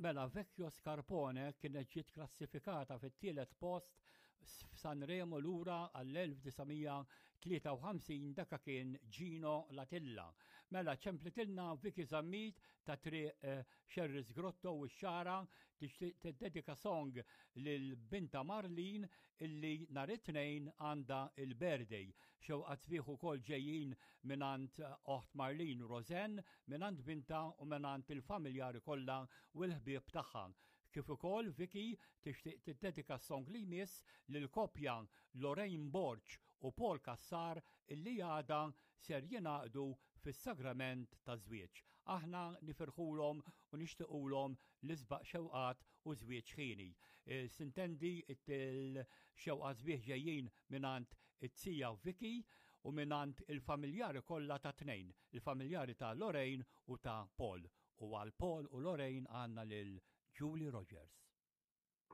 Mela Vecchio Scarpone kienet ġiet klassifikata fit-tielet post f'Sanremo lura għall-1953 daka kien Gino Latilla. Mela ċemplitilna Vicky Zammit ta' triq eh, Sherris Grotto u x-Xagħra tixtieq tiddedika song lil binta Marlene illi nhar it-Tnejn għandha il-birthday. Xewqat sbieħ ukoll ġejjin mingħand oħt Marlene Roseanne, mingħand binta u mingħand il-familjari kollha u l-ħbieb tagħha. Kif ukoll Vicky tixtieq tiddedika s-song li jmiss lill-koppja Lorraine Borg u Paul Cassar illi għada ser jingħaqdu fis-sagrament taż-żwieġ. Aħna nifirħulhom u nixtiqulhom l-isbaq xewqat u żwieġ ħieni. E, sintendi il-xewqat sbieħ ġejjin mingħand it-tija Vicky u mingħand il-familjari kollha ta' tnejn, il-familjari ta' Lorraine u ta' Paul. U għal Paul u Lorraine għandna lil Julie Rogers.